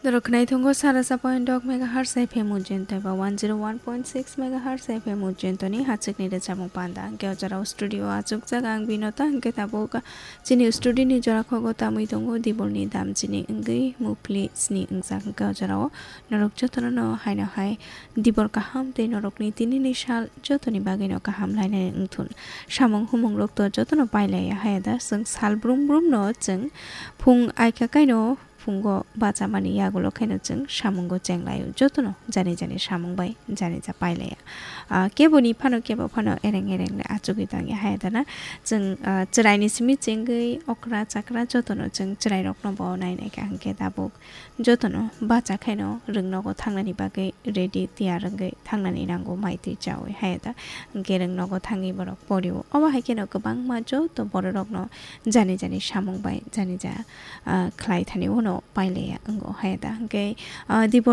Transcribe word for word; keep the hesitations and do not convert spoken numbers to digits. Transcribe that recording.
Norok khwnai tongo sara sa point dok megahertz F M Ujjain tei ba one zero one point six megahertz F M Ujjain toni hachikni rwchapmung panda. Hwnkhe o jorao studio achukjak ang Binota, hwnkhe tabuk chini studio ni jora khogo tamwi tongo dibolni dam chini wngwi mupli sni wngjak. Hwnkhe o jorao norok jotono no haino hai dibor kaham tei norokni tinini sal jotoni bagwino kaham lainani wngthun. Samung humung rok to jotono pailaiya haya da, chwng sal brum brum no chwng phung aika kaino phungo bachamani yagulo khaino chwng samungo chenglaio, jotono jani jani samung bai jani ja pailaiya. Ah, keboni phano kebo phano ereng ereng le achugwi tangya haya dana. Chwng, ah, chwraini simi chengwi okra chakra jotono chwng chwrairokno bo nai nai kha, hwnkhe tabuk jotono bacha khaino rwngnogo thangnani bagwi ready tiyar wngwi thangnani nango, mai twi chawi haya da. Hwnkhe rwngnogo thangwi borok porio. Obo hai kheno kwbangma joto bororokno jani jani samung bai jani ja, ah, khlai thani uano pailaiya wngo haya da. Hwnkhe, ah, dibor